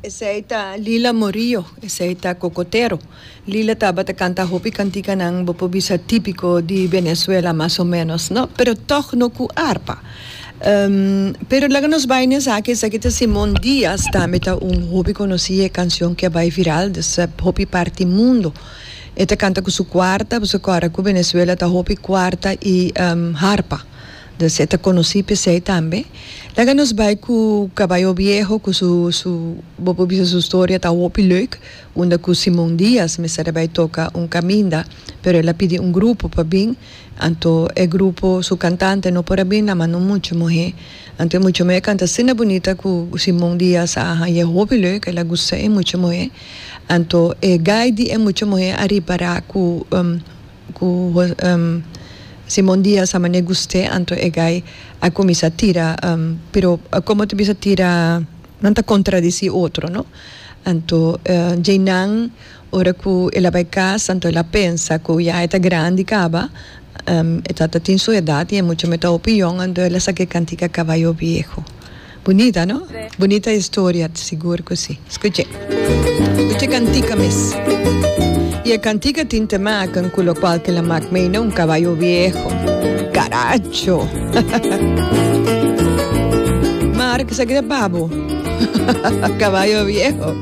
Esei ta Lila Morillo, esei ta Cocotero. Lila tabata canta hopi canticanan bo por bisa tipico di Venezuela mas o menos no, pero toch no cu arpa. Pero laga nos bay na esaki, esaki ta Simon Diaz, tambe ta un hopi conoci e cancion cu a bay viral des hopi parti mundo. E ta canta cu su cuarta, pasobra cora cu Venezuela ta hopi cuarta y harpa. Dus e ta conoci p'esey tambe. Laga nos bay cu Caballo Viejo cu su su bo por bisa su storia ta hopi leuk unda cu Simon Diaz mester a bay toca un caminda pero el a pidi un grupo pa bin anto e grupo su cantante no por a bin nan manda un mucha muhe anto e mucha muhe a canta asina bunita cu Simon Diaz a haña hopi leuk el a gusta e mucha muhe anto e guy di e mucha muhe a ripara cu Ku Simon Diaz a manera gust'é, anto e gai a kuminsá tira, pero komo ta bisa tira, nan ta kontradisí otro, no? Anto djeinan ora ku el a bai kas, anto el a pensa ku ya e ta grandi kaba, e tata tin su edat i e mucha me ta hopi yòn, anto el a saka e kantika Caballo Viejo. Bunita no? Bunita historia, sigur cu si. Scuche. Scuche cantica mes. Y e cantica tin te maken cu locual que la mak mee na un caballo viejo. Caracho! Mark, esaki ta pa bo. Caballo viejo.